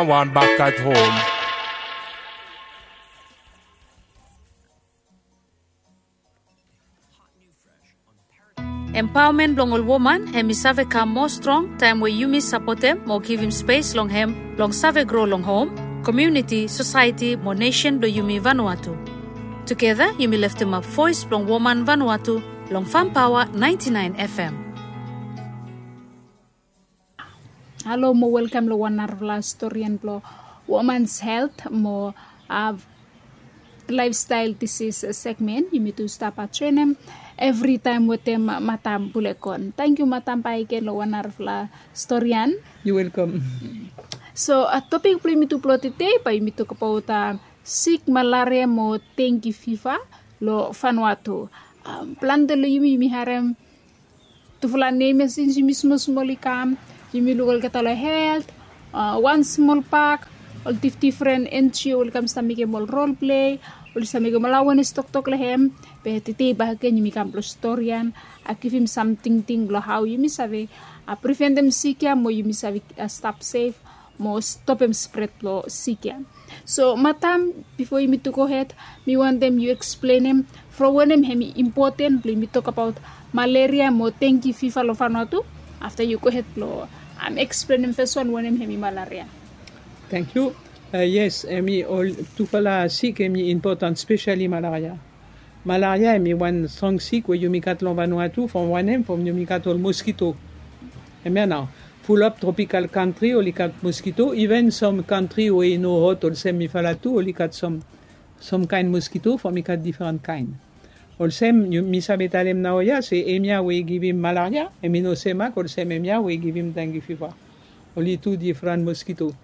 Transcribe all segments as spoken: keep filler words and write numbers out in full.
Wan bak at hom. Empaomen blong ol woman hem i save kam moa strong taem we yumi sapotem mo givim spes long hem blong save gro long hom, komuniti, sosaeti mo nesen blong yumi Vanuatu. Tugeta yumi leftemap voes blong woman Vanuatu long Fam Paoa naenti naen F M. Halo mo welkam long wan narafala storian blong womans helt mo laifstael disis segmen. Yumi tu stap atenem evritaem wetem matam Bulekon. Tangkiu matam bakegen long wan narafala storian. Yu welkam. So topik blong yumi tu blong tede bae yumi tokbaot sik malaria mo dengi fiva long Vanuatu. Plante long yumi yumi harem tufala nem ya sins yumi smol smol i kam. Yumi luk olgeta long helt, wan smol pak, ol difdifren N G O oli kam stap mekem ol rol plei, oli stap mekem ol awenes toktok long hem. Be tede bakegen yumi kam blong storian, givim sam tingting blong hao yumi save priventem sik ya mo yumi save stap sef mo stopem spred blong sik ya. So matam, bifo yumi tu gohed, mi wantem yu eksplenem from wanem hem i impoten blong yumi tokbaot malaria mo dengi fiva long Vanuatu. Afta yu gohed blong eksplenem fes wan wanem hem i malaria. Tangkiu. Yes, hem i ol tufala sik hem i impoten, spesali malaria. Malaria hem i wan strong sik we yumi gat long Vanuatu from wanem, from yumi gat ol moskito. Hemia nao, fulap tropikal kantri oli gat moskito, iven sam kantri we i no hot olsem mifala tu oli gat sam kaen moskito from i gat difren kaen. Olsem mi save talem naoia se hemia we i givim malaria hem i no semak olsem hemia we i givim dengi fiva. Oli tu difren moskito.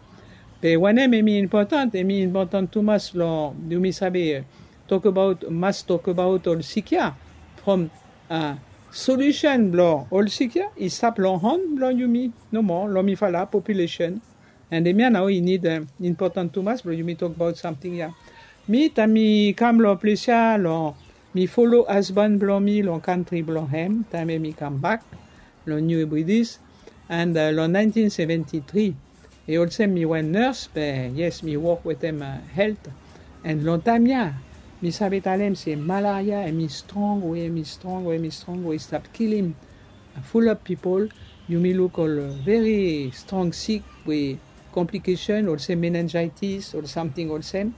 Be wanem hem i impoten, hem i impoten tumas long yumi save tokbaot, mas tokbaot ol sik ya from solusen blong ol sik ya i stap long han blong yumi nomo, long mifala populesen. And hemia nao i nid impoten tumas blong yumi tokbaot samting ya. Mi taem mi kam long ples ya long mi folo hasban blong mi long kantri blong hem taem hem i kambak long New Hebrides. And long nineteen seventy three, i olsem mi wan nurse be yes mi wok wetem helt. And long taem ya mi save talem se malaria hem i strong we hem i strong we hem i strong we i stap kilim fulap pipol. Yumi luk ol veri strong sik we komplikesen olsem menenjaitis ol samting olsem.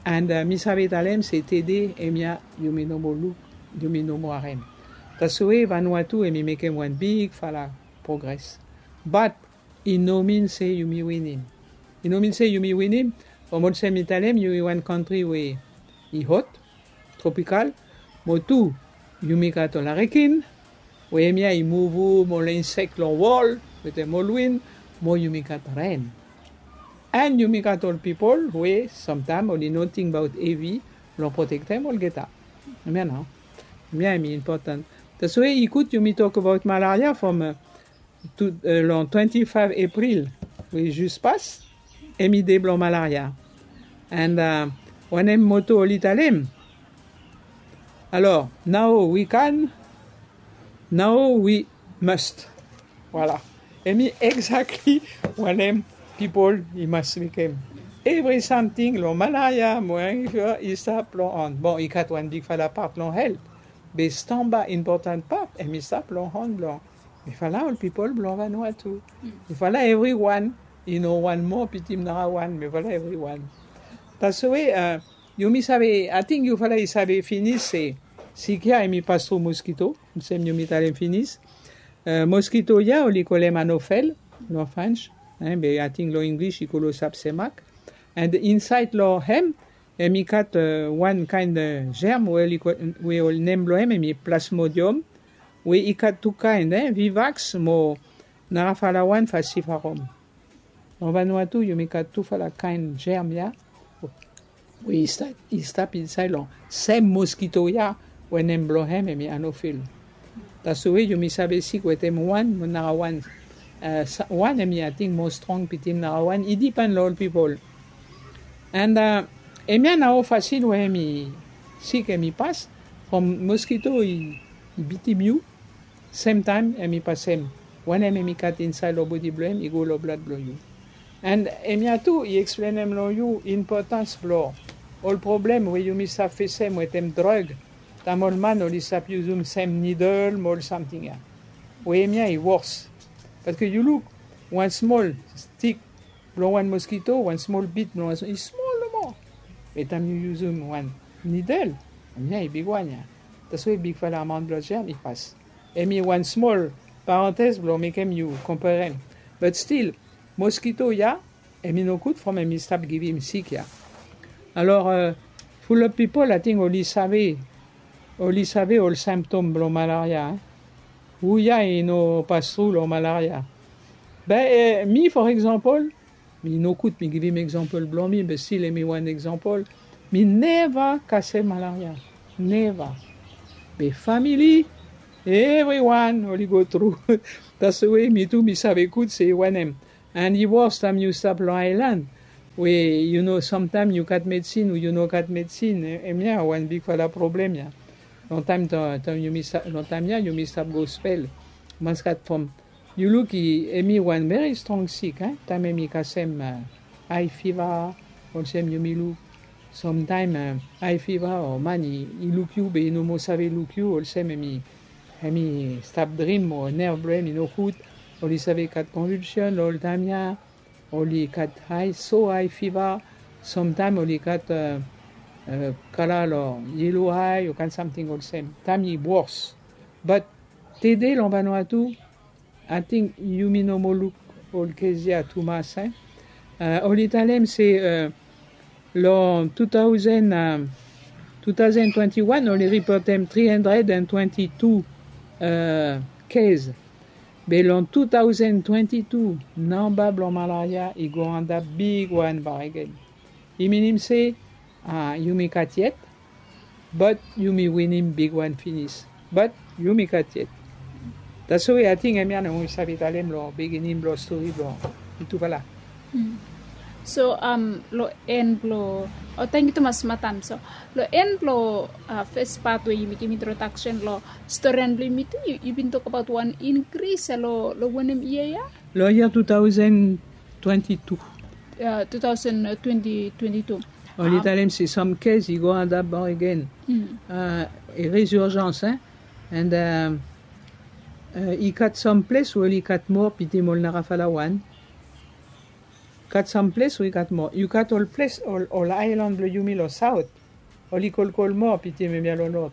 And mi save talem se tede hemia yumi no moa luk, yumi no moa harem. Taswe Vanuatu hem i mekem wan bigfala progres. Bat i no min se yumi winim. I no min se yumi winim from olsem mi talem yumi wan kantri we i hot, tropikal, mo tu yumi gat ol arekin we hemia i muvum ol insek long wol wetem ol win, mo yumi gat ren. And yumi gat ol pipol we samtaem oli no tingbaot hevi long protektem olgeta. Hemia nao, hemia hem i impoten. Taswe i gud yumi tokbaot malaria from long twenti faev Epril we i jus pas, hem i de blong malaria. And wanem moto oli talem? Alor, nao wi kan, nao wi must. Voila. Hem i egzakli wanem pipol i mas mekem. Evri samting long malaria mo i stap long han. Bon, i gat wan bigfala pat long helt. Be stamba impoten pat hem i stap long han blong mifala ol pipol blong Vanuatu. Mifala evriwan i no wan moa pitim narawan, mifala evriwan. Taswe yumi save, ating yufala i save finis se sik ya hem i pas tru moskito. Olsem yumi talem finis, moskito ya oli kolem anofel long French, be ating long Inglis i kolo sapsemak. And insaed long hem hem i gat wan kaen jerm we ol nem blong hem hem i plasmodium, we i gat tu kaen, vivaks mo narafala wan, falsiparum. Long Vanuatu yumi gat tufala kaen jerm ya we i stap insaed long sem moskito ya we nem blong hem hem i anofil. Taswe yumi save sik wetem wan mo narawan. Wan hem i ating moa strong pitim narawan, i dipen long ol pipol. And hemia nao fasin we hem i sik hem i pas from moskito i bitim yu, semtaem hem i pasem wanem hem i gat insaed long bodi blong hem i go long blad blong yu. And hemia tu i eksplenem long yu inpotans blong ol problem we yumi stap fesem wetem drug. Taem ol man oli stap yusum sem nidel mo ol samting ya. We hemia i wos. Bat ke yu luk wan smol stik blong wan moskito, wan smol bit blong wan smol, i smol nomo. Be taem yu yusum wan nidel, hemia i bigwan ya. Taswe bigfala amaon blong jam i pas. Hemi wan smol parantez blong mekem yu konperem. Bat stil, moskito ya, hemi nogud from hemi stap givim sik ya. Alor, fulap pipol ating oli save, oli save ol simptom blong malaria. Hu ya i no pas tru long malaria? Be mi, for example, mi nogud mi givim example blong mi, be stil hemi wan example. Mi neva kasem malaria. Neva. Be famili, evriwan oli go tru. Taswe mi tu mi save gud se wanem. And i wos taem yu stap long aelan we yu no, samtaem yu gat medsin o yu no gat medsin. Hemia wan bigfala problem ya. Long taem, taem yumi stap, long taem ya yumi stap gospel. Mas gat from, yu luk, hemi wan veri strong sik. Taem hemi kasem high fever, olsem yumi luk. Samtaem high fever o man i luk yu be i no moa save luk yu, olsem hemi, hemi stap drim o nerv blong hem i no gud. Oli save gat convulsion long ol taem ya. Oli gat high, so high fever. Samtaem oli gat kala long yellow eye o kaen samting olsem. Taem i wos. Bat tede long Vanuatu, ating yumi no moa luk ol kes ya tumas. Oli talem se long two thousand, two thousand twenty-one oli ripotem three hundred and twenty-two kes. Be long two thousand twenty-two namba blong malaria i go antap bigwan bakegen. I minim se yumi gat yet, bat yumi winim bigwan finis. Bat yumi gat yet. Taswe ating hemia nao mi save talem long beginning blong stori blong mitufala. So long en blong, o, tangkiu tumas madam. So long en blong fes pat we yumi givim introdaksen long storian blong yumi tu, yu bin tokbaot wan inkris long wanem yia ya? Long yia two thousand twenty-two. Two thousand twenty twenty-two. Oli talem se sam kes i go antap bakegen. A resurjans, en. And i gat sam ples we oli gat moa pitim ol narafala wan. Gat sam ples we i gat moa. Yu gat ol ples, ol aelan blong yumi long saot, oli kolkol moa pitim hemia long not.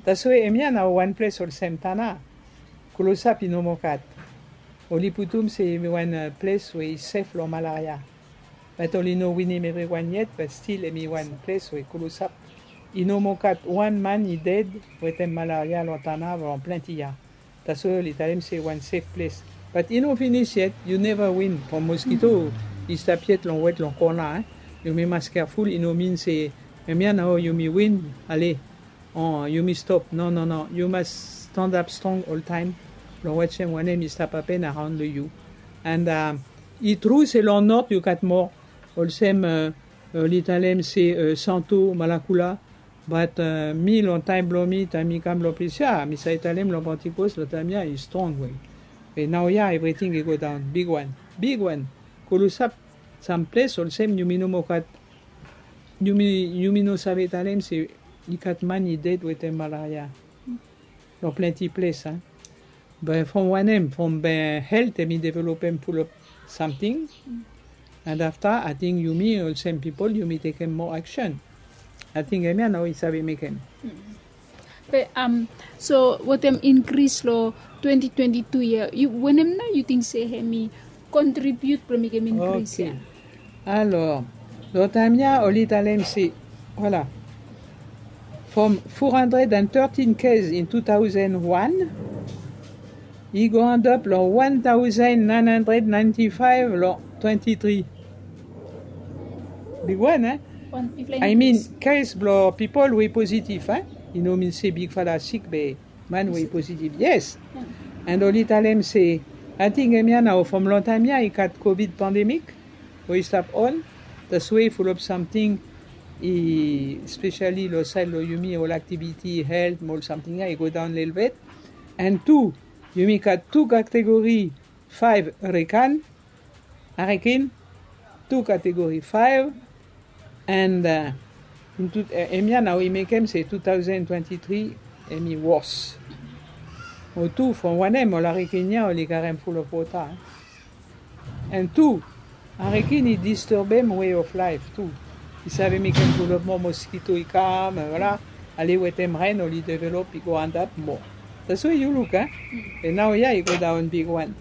Taswe hemia nao wan ples olsem Tanna, klosap i no moa gat. Oli putum se hemi wan ples we i sef long malaria. Bat oli no winim evriwan yet, bat stil hemi wan ples we klosap i no moa gat wan man i ded wetem malaria long Tanna long plante yia. Taswe oli talem se wan sef ples. Bat i no finis yet, yu neva win from moskito i stap yet long wet long kona. Yumi mas keaful, i no min se hemia nao yumi win, ale, o yumi stop. No, no, no, yu mas stanap strong oltaem long wajem wanem i stap hapen araon long yu. And i tru se long not yu gat moa, olsem oli talem se Santo, Malakula. Bat mi long taem blong mi, taem mi kam long ples ya, mi save talem long Pentikos long taem ya i strong we. Be naoia evriting i go daon bigwan, bigwan. Klosap sam ples olsem yumi no moa gat, yumi, yumi no save talem se i gat man i ded wetem malaria long plante ples, a. Be from wanem? From be helt hemi developem fulap samting. And afta ating yumi olsem pipol yumi tekem moa aksen. Ating hemia nao i save mekem. Be so wetem inkris long twenty twenty-two ya, wanem nao yu ting se hemi kontribiut blong mekem inkris ya? Alor, long taem ya oli talem se, voila, from four hundred and thirteen kes in two thousand one, i go antap long one thousand nine hundred ninety-five long twenty-three. Bigwan, en? I mean, kes blong pipol we i positif, en? I no min se bigfala sik be man we i positif, yes. And oli talem se, ating hemia nao from long taem ya i gat Covid pandemik we i stap on. Taswe fulap samting i, espesali long saed long yumi, ol aktiviti, helt, mo ol samting ya i go daon lelebet. And tu, yumi gat tu kategori, faef, hariken, hariken, tu category five. And hemia nao i mekem se two thousand twenty-three hemi wors. Mo tu from wanem ol arekin ya oli karem ful of wota. And tu, arekin i disturbem way of life tu. I save mekem ful of moa moskito i kam, vola. Ale wetem ren oli develop i go antap moa. That's why yu luk, e? And nao ya i go daon bigwan.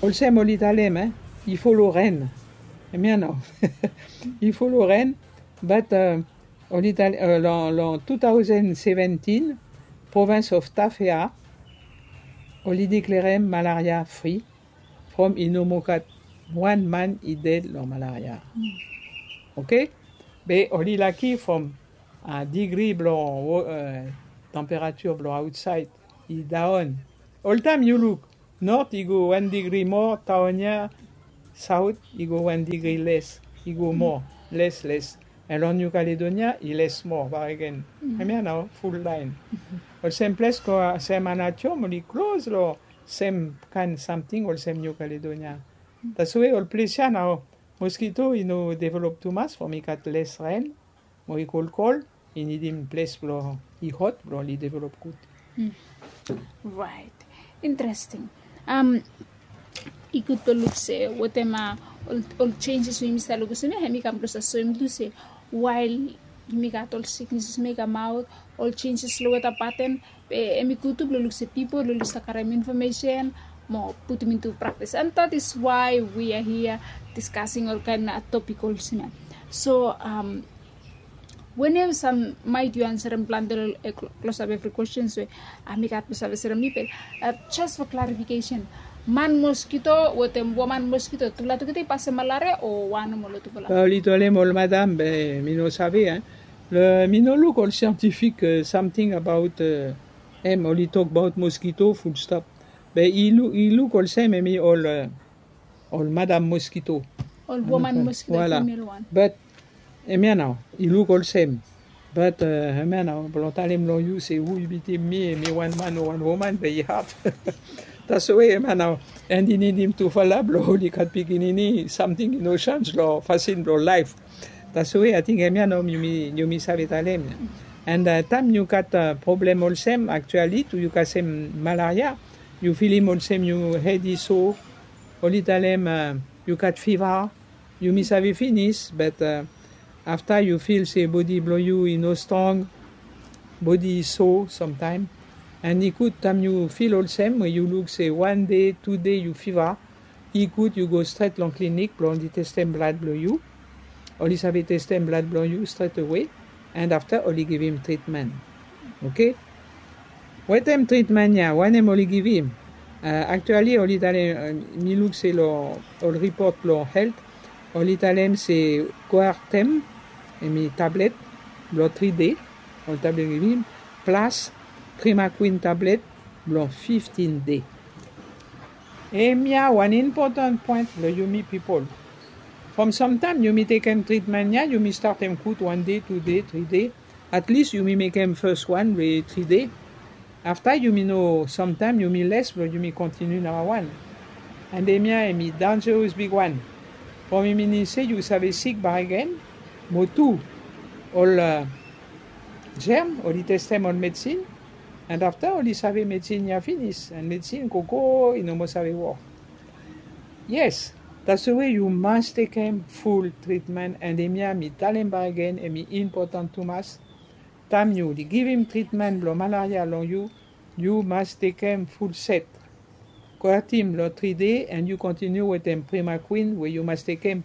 Olsem oli talem, e? I folo ren. Hemia nao. I folo ren, but oli talem long two thousand seventeen, provins of Tafea oli deklerem malaria free. From i no moa gat wan man i ded long malaria. Oke. Be oli laki from degree blong temperature blong aotsaed i daon. Oltaem yu luk, nort i go wan degree moa, taon ya, saot i go wan degree les, i go moa, les les. And long New Caledonia i les moa bakegen. Hemia nao ful laen. Olsem ples ko sem Aneityum oli klos long sem kaen samting olsem New Caledonia. That's why ol ples ya nao moskito i no develop tumas from i gat les ren, mo i kolkol, i nidim ples blong i hot blong oli develop gud. Raet. Interesting. I gud blong luk se wetem ol, ol changes we yumi stap luk olsem ya, hemi kam blong stap soem tu se wael yumi gat ol siknes olsem ya i kamaot, ol changes long weta paten, be hemi gud tu blong luk se pipol oli stap karem infomesen mo putum into practice. And that is why we are here discussing ol kaen topik olsem ya. So, wenem sam maet yu ansarem plante long klosap evri kwestens we mi gat blong save ansarem. Be just for clarification, man moskito wetem woman moskito tufala tugeta i pasem malaria o wan nomo long tufala? Oli talem ol madam, be mi no save, e. Mi no luk ol scientific samting abaot, hem oli tokbaot moskito fulstap. Be i luk olsem hemi ol ol madam moskito. Ol woman moskito, female wan. But hemia nao i luk olsem. But hemia nao blong talem long yu se hu i bitim mi, hemi wan man o wan woman, be i had. That's why hemia nao, and i nidim tufala blong oli gat pikinini, samting i no seanj long fasin blong laef. That's why ating hemia nao yumi save talem. And taem yu gat problem olsem, actually tu yu kasem malaria, yu filim olsem yu hed i so, oli talem yu gat fiva, yumi save finis, but afta yu fil se bodi blong yu i no strong, bodi i so samtaem. And i gud taem yu fil olsem we yu luk se wan dei, tu dei yu fiva, i gud yu go stret long klinik blong oli testem blad blong yu. Oli save testem blad blong yu stret awe, and afta oli givim tritmen. Oke? Wetem tritmen ya, wanem oli givim? Actually oli talem, mi luk se long ol ripot blong helt, oli talem se Coartem, hemi tablet blong tri dei, oli tablet givim, plas Primaquine tablet blong fiftin dei. Hemia wan impotan poen blong yumi pipol. From samtaem yumi tekem tritmen ya, yumi statem gud wan dei, tu dei, tri dei. At least yumi mekem fes wan we tri dei. Afta yumi no, samtaem yumi les blong yumi kontiniu namba wan. And hemia hemi danjeros bigwan. From i minim se yu save sik bakegen, mo tu ol germ oli testem ol medsin, and afta oli save medsin ya finis, and medsin gogo i no moa save wok. Yes, that's why yu mas tekem ful tritmen, and hemia mi talem bakegen, hemi impotan tumas. Taem yu givim tritmen blong malaria long yu, yu mas tekem ful set. Coartem long tri dei, and yu kontiniu wetem Primaquine we yu mas tekem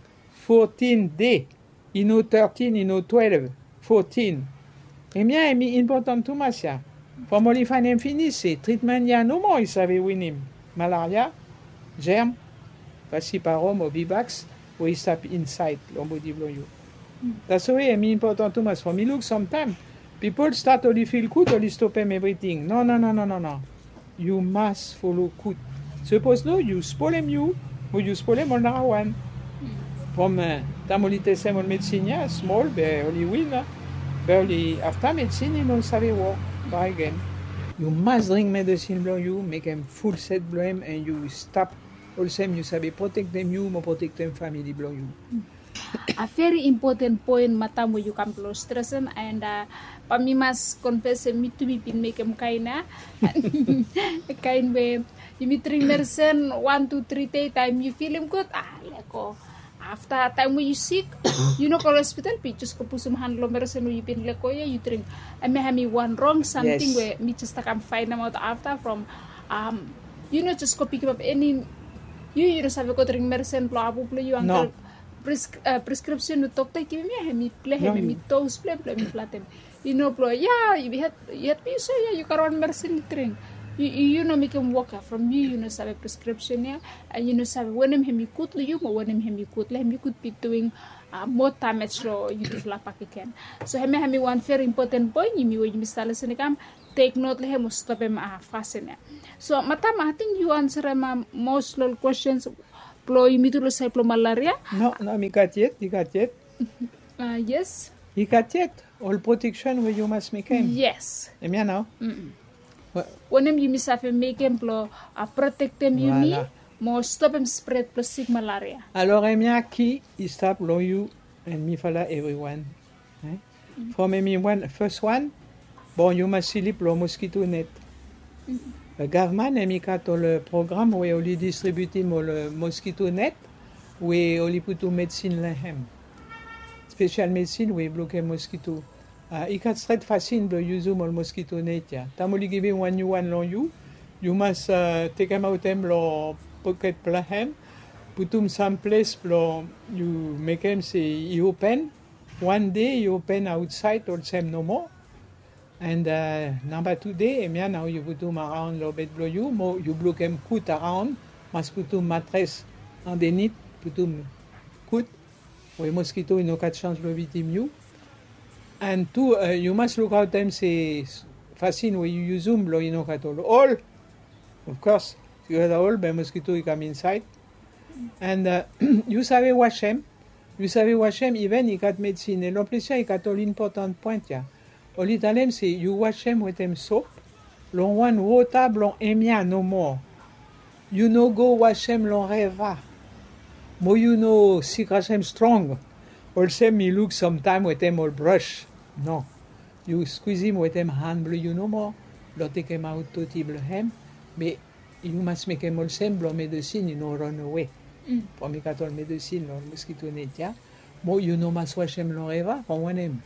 fotin dei. I no thirteen, i no twelve, fotin. Hemia hemi impotan tumas ya. From oli faenem finis se tritmen ya nomo i save winim malaria, germ, falciparum o vivax we i stap insaed long bodi blong yu. That's why hemi impotan tumas. From mi luk samtaem pipol stat oli fil gud, oli stopem evriting. No, no, no, no, no, no. Yu mas folo gud. Sapos no, yu spolem yu, mo yu spolem ol narawan. From taem oli testem ol medsin ya smol, be oli win, a. Be oli afta medsin i no save wok bakegen. Yu mas dring medsin blong yu, mekem ful set blong hem, and yu stap Olsem yu save protektem yu mo protektem famili blong yu. A veri impoten poen matam we yu kam blong stresen, and bae mi mas konfes se mi tu mi bin mekem kaen ya, kaen we yumi dring medisen wan tu tri dei, taem yu filim gud, a, lego. Afta taem we yu sik, yu no go long hospital, be yu jes go pusum han long medisen we yu bin lego ya, yu dring. Hemia hemi wan rong samting we mi jes stap kam faenemaot afta from, yu no jes go pikimap eni, yu yu no save go dring medisen blong abu blong yu, angkel. Preskripsen we dokta i givim ya, hemi blong hem, hemi dos blong hem blong hemi flatem. Yu no blong ya, yu hed, yu hed mi so ya, yu gat wan medisen yu dring. Yu no mekem wok ya from yu yu no save preskripsen ya, and yu no save wanem hemi gud long yu mo wanem hemi gud long hem, yu gud be duing moa damej long yutufala bakegen. So hemia hemi wan veri impoten poen, yumi we yumi stap lesen i kam tek not long hem o stopem fasin ya. So matam, ating yu ansarem mos long ol kwestens blong yumi tu long saed blong malaria. No, no, mi gat yet, i gat yet. Yes. I gat yet ol proteksen we yu mas mekem. Yes. Hemia nao. Wanem yumi save mekem blong protektem yumi mo stopem spred blong sik malaria? Alor hemia ki i stap long yu and mifala evriwan. From hemi wan, fes wan, bon, yu mas slip long moskito net. Gavman hemi gat ol program we oli distribiutim ol moskito net we oli putum medsin long hem. Spesial medsin we i blokem moskito. I gat stret fasin blong yusum ol moskito net ya. Taem oli givim wan niu wan long yu, yu mas tekemaot hem long poket blong hem, putum sam ples blong yu mekem se i open. Wan dei i open aotsaed olsem nomo. And namba tu dei, hemia nao yu putum araon long bed blong yu, mo yu blokem kut araon, mas putum matres andenit, putum kut we moskito i no gat sans blong bitim yu. And tu, yu mas lukaotem se fasin we yu yusum blong i no gat ol ol. Of course, yu gat ol, be moskito i kam insaed. And yu save wasem, yu save wasem, iven i gat medsin, long ples ya i gat ol impotan poen ya. Oli talem se yu wasem wetem sop long wan wota blong hemia nomo. Yu no go wasem long reva. Mo yu no sikrasem strong olsem mi luk samtaem wetem ol bros. No. Yu skwizim wetem han blong yu nomo blong tekemaot doti blong hem. Be yu mas mekem olsem blong medesin i no ran awe. From i gat ol medesin long moskito net ya. Mo yu no mas wasem long reva, from wanem?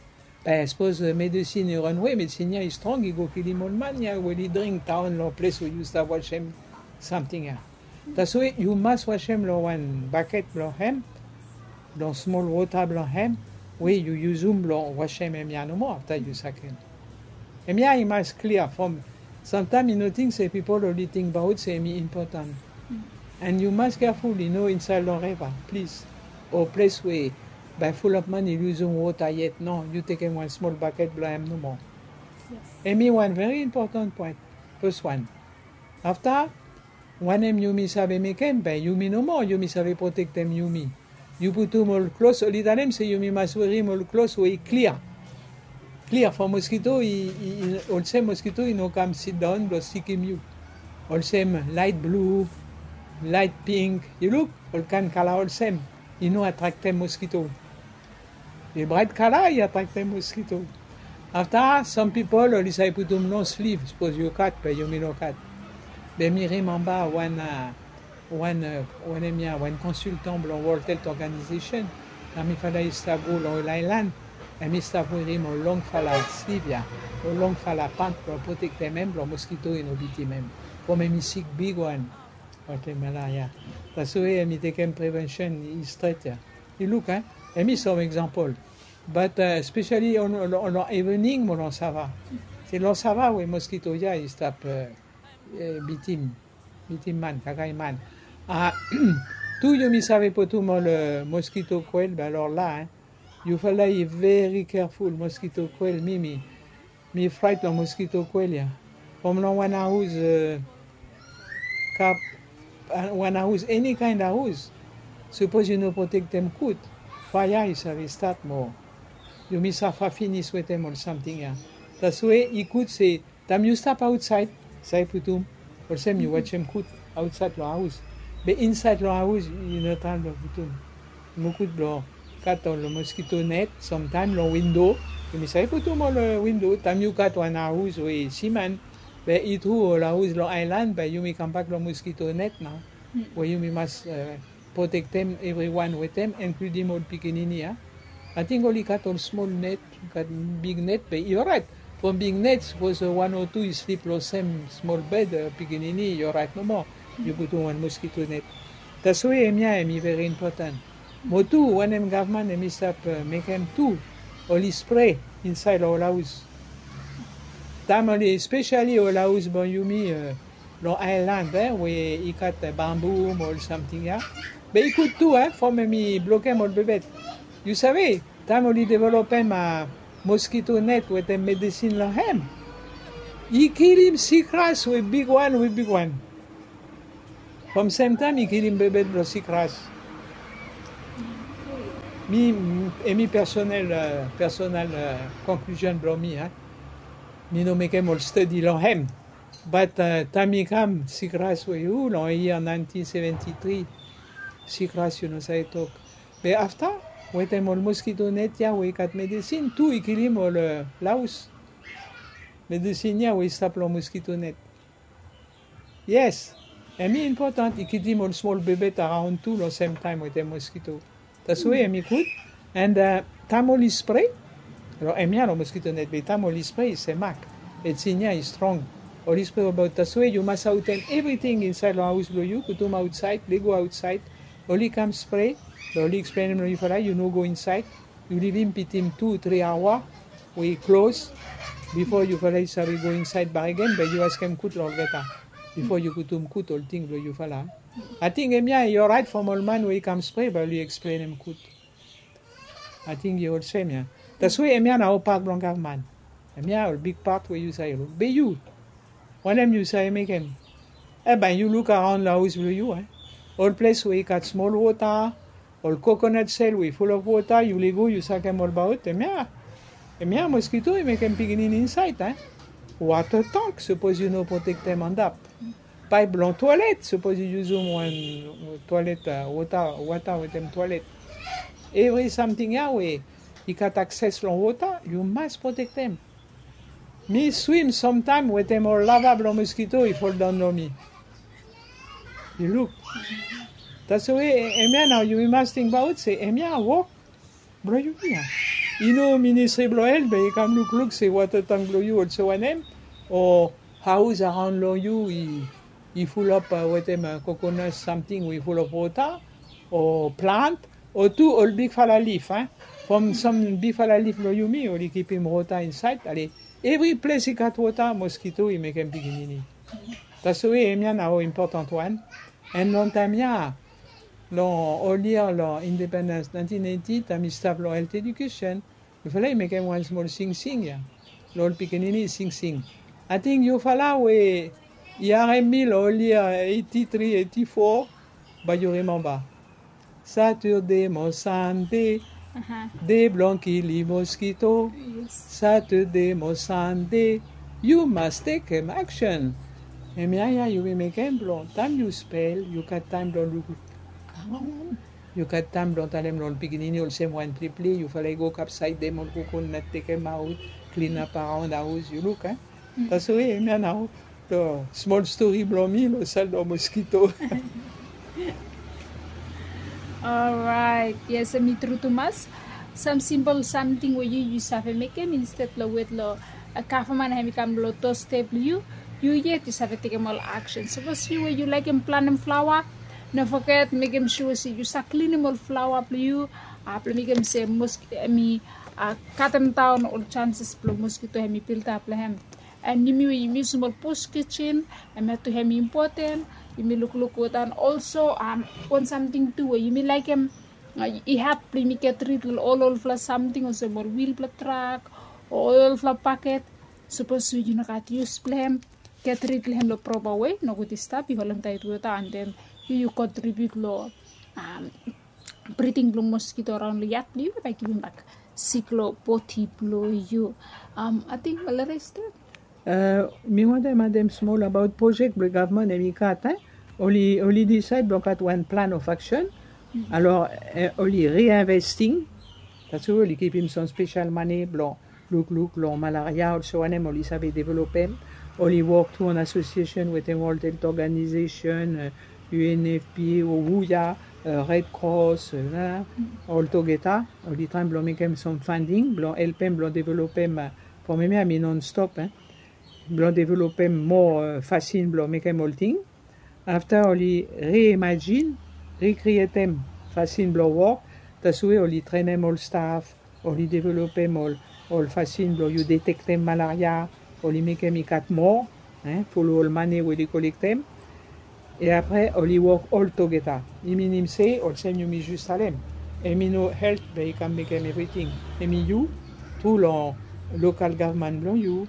Be sapos medesin i ran awe, medesin ya i strong, i go kilim ol man ya we oli dring daon long ples we yu stap wasem samting ya. Taswe yu mas wasem long wan baket blong hem, long smol wota blong hem we yu yusum blong wasem hemia nomo afta yu sakem. Hemia i mas klia from samtaem i no ting se pipol oli tingbaot se hemi impotan. And yu mas keaful i no insaed long reva, plis, o ples we bae fulap man i luzum wota yet. No, yu tekem wan smol baket blong hem nomo. Hemi wan veri impotan poen. Fes wan. Afta, wanem yumi save mekem? Be yumi nomo yumi save protektem yumi. Yu putum ol klos, oli talem se yumi mas werim ol klos we i klia. Klia from moskito i, i, i, olsem moskito i no kam sidaon blong sikim yu. Olsem laet blu, laet pink, yu luk, ol kaen kala olsem i no atraktem moskito. Be braet kala i atraktem moskito. Afta, sam pipol oli save putum long sliv, sapos yu gat be yumi no gat. Be mi rimemba wan, a, wan, a, wanem ya, wan konsiltan blong World Health Organization. Taem mifala i stap go long ol aelan, hemi stap werim ol longfala sliv ya, ol longfala pant blong protektem hem blong moskito i no bitim hem. From hemi sik bigwan wetem malaria. Taswe hemi tekem prevensen i stret ya. Yu luk, a? Hemi sam egzampol. But, a, espesali long, long, long evening mo long sava. Se long sava we moskito ya i stap, a, bitim, bitim man, kakae man. A, tu yumi save putum ol, a, moskito koel, be alor la, a, yufala i veri keaful, moskito koel, mi, mi, mi fraet long moskito koel ya. From long wan aos, a, kap, a, wan aos, eni kaen aos. Sapos yu no protektem gud, faea i save stat mo yumi safa finis wetem ol samting ya. Taswe i gud se taem yu stap aotsaed, save putum, olsem yu wasem gud aotsaed long aos. Be insaed long haos i no taem blong putum. Mokut blong kat ol moskito net, samtaem long windo. Yumi save putum ol windo taem yu gat wan haos we siman. Be i tru ol haos long aelan bae yumi kambak long moskito net nao, we yumi mas protektem evriwan wetem, inkludim ol pikinini ya. Ating oli gat ol smol net, gat big net be i oraet. From big net sapos wan o tu i slip long sem smol bed, pikinini i oraet nomo. Yu putum wan moskito net. Taswe hemia hem i veri impoten. Mo tu wanem gavman hem i stap mekem tu, oli spre insaed long ol haos. Taem oli spesiali ol haos blong yumi long aelan we i gat bambu mo ol samting ya. Be i gud tu from hem i blokem ol bebet. Yu save taem oli developem moskito net wetem medisin long hem, i kilim sikras we bigwan we bigwan. From semtaem i kilim bebet blong sikras. Mi, hem i personel, personel konklusion blong mi. Mi no mekem ol stadi long hem. Bat taem i kam sikras we yu long yia naentin seventi tri, sikras yu no save tok. Be afta wetem ol moskito net ya we i gat medisin tu i kilim ol haos. Medisin ya we i stap long moskito net. Yes, hem i impoten i kilim ol smol bebet araon tu long semtaem wetem moskito. Taswe hem i gud. And taem oli spre long hemia long moskito net be taem oli spre i semak. Medisin ya i strong. Oli spre abaot taswe yu mas aotem evriting insaed long haos blong yu, putum aotsaed, lego aotsaed. Oli kam spre be oli eksplenem long yufala yu no go insaed. Yu livim bitim tu tri aoa we i klos bifo yufala i save go insaed bakegen be yu askem gud long olgeta bifo yu putum gud ol ting blong yufala. Ating hemia i oraet from ol man we i kam spre bae oli eksplenem gud. Ating i olsem ya. Taswe hemia nao pat blong gavman. Hemia ol big pat we yu save luk be yu, wanem yu save mekem? Bae yu luk araon long haos blong yu. Ol ples we i gat smol wota, ol kokonat sel we i fulap wota, yu lego yu sakem olbaot. Hemia, hemia moskito i mekem pikinini insaed. Wota tank sapos yu no protektem antap. Paep blong toalet sapos yu yusum wan toalet, wota, wota wetem toalet. Evri samting ya we i gat akses long wota yu mas protektem. Mi swim samtaem wetem ol lava blong moskito i foldaon long mi. Yu luk. Taswe hemia nao yumi mas tingbaot se hemia wok blong yumi ya. I no ministri blong helt be i kam lukluk se wota tank blong yu olsem wanem, o haos araon long yu i fulap wetem kokonat samting we i fulap wota, o plant, o tu ol bigfala lif. From sam bigfala lif blong yumi oli kipim wota insaed. Ale, evri ples i gat wota moskito i mekem pikinini. Taswe hemia nao impoten wan. And long taem ya, long ol yia long independens naentin eiti, taem mi stap long helt edikesen, yufala i mekem wan smol singsing ya long ol pikinini singsing. Ating yufala we i harem mi long ol yia eiti tri, eiti fo, bae yu rimemba. Satade mo Sande, de blong kilim moskito. Satade mo Sande, yu mas tekem aksen. Hemia ya yumi mekem blong taem yu spel yu gat taem blong luk. Yu gat taem blong talem long ol pikinini olsem wan pleple, yufala i go kapsaed dem ol kokonat, tekemaot, klinap araon haos, yu luk. Taswe hemia nao long smol stori blong mi long sel long moskito. Oraet, yes, hem i tru tumas. Sam simpol samting we yu yu save mekem insted long wet long gavman hem i kam long dosstep blong yu, yu yet yu save tekem ol aksen. Sapos yu we yu laekem planem flaoa, no foget mekem sua se yu save klinim ol flaoa blong yu, blong mekem se hem i katemdaon ol sanses blong moskito hem i biltap long hem. And yumi we yumi yusum ol bus kijen, hemia tu hem i impoten. Yumi lukluk wetem olso wan samting tu we yumi laekem i hap blong yumi get rid long ol olfala samting olsem ol wil blong trak o ol olfala baket. Sapos we yu no gat yus blong hem, get rid long hem long propa we, nogud i stap i holem taet wota and then yu yu kontribiut long briding blong moskito araon long yat blong yu bae givim bak sik long bodi blong yu. Ating malaria i stap. Mi wantem adem smol abaot projek blong gavman hem i gat. Oli oli disaed blong gat wan plan of aksen. Alor oli reinvesting. Dati we oli kipim sam spesial mane blong lukluk long malaria olso wanem oli save developem. Oli wok tu an asosiesen wetem ol tent organizesen, unfpa o wuya, red cross, ol togeta. Oli traem blong mekem sam fanding blong helpem blong developem. From eme ami non stop blong developem moa fasin blong mekem olting. Afta oli reimajin, rikrietem fasin blong wok. Dati we oli trenem ol staf, oli developem ol ol fasin blong yu detektem malaria. Oli mekem i gat moa folo ol mane we oli kolektem. E apre oli wok oltogeta. I minim se olsem yumi jus talem, emi no helt be i kam mekem evriting. Emi yu tu long lokal gavman blong yu,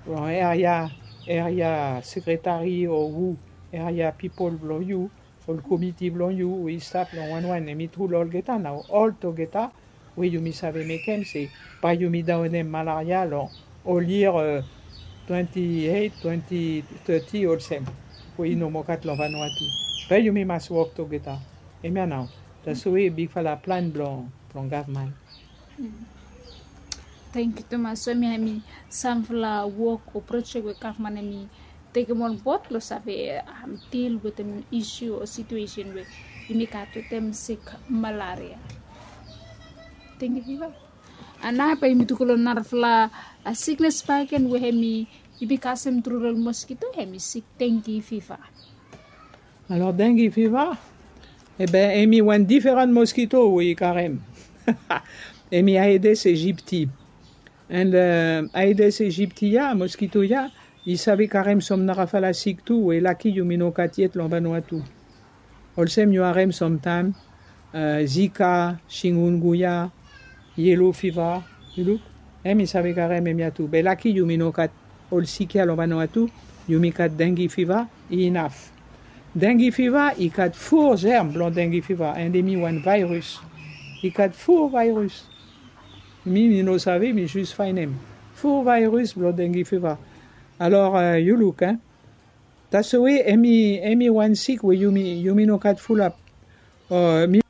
long eria eria sekretari o hu, eria pipol blong yu, ol komiti blong yu we i stap long wanwan. Emi tu long olgeta nao oltogeta we yumi save mekem se bae yumi daonem malaria long ol yia twenti eit twenti teti olsem, we i no moa gat long vanua tu. Bae yumi mas wok togeta. Emia nao, dati we bigfala plan blong blong gavman. Tangkiu tumas. So mi ami samfala wok o projek we gavman ami tekem on bod blong save dil wetem isu o situesen we yumi gat wetem sik malaria, dengi fiva. Ana bae yumi tu go long narafala siknes bakegen we hemi yumi kasem tru long moskito, hemi sik dengi fiva. Alor dengi fiva, ebe hemi wan diferan moskito we i karem. Hemi aedes aegypti. And aedes aegypti ya, moskito ya, i save karem sam narafala sik tu we laki yumi no gat yet long vanua tu. Olsem yu harem samtaem, zika, singunguya, yelo fiva. Yu luk, hemi save karem hemia tu be laki yumi no gat ol sik ya long vanua tu. Yumi gat dengi fiva, i inaf. Dengi fiva i gat fo zerm blong dengi fiva and hemi wan vaeris. I gat fo vaeris. Mi mi no save, mi jus faenem fo vaeris blong dengi fiva. Alor yu luk, dati we hemi hemi wan sik we yumi yumi no gat fulap. Mi